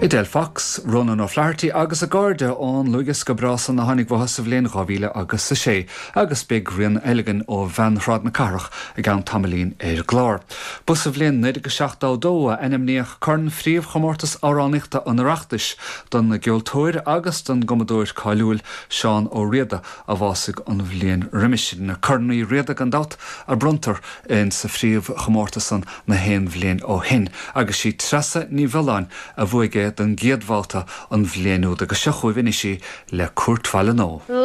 Edel Fox, Ronan O'Flaherty agus a gcairde ón Luaithdhiosca breá san a tháinig uathu sa bhliain 2000 agus a sé agus beidh rian eile againn ó Bhean Shráid na Cathrach i gceann tamaillín ar an gclár. Ba sa bhliain 1972 a ainmníodh corn phríomhchomórtas amhránaíochta an Oireachtais don gceoltóir agus don gcumadóir cáiliúil Seán Ó Riada a bhásaigh an bhliain roimis sin. Corn Uí Riada gan dabht a bronntar in sa phríomhchomórtas san na haon bhliain ó shin agus sí Treasa Ní Bheoláin a bhuaigh é don gcéad bhabhta an bhliain úd agus seo chugaibh anois í le Cúirt Bhaile Nó.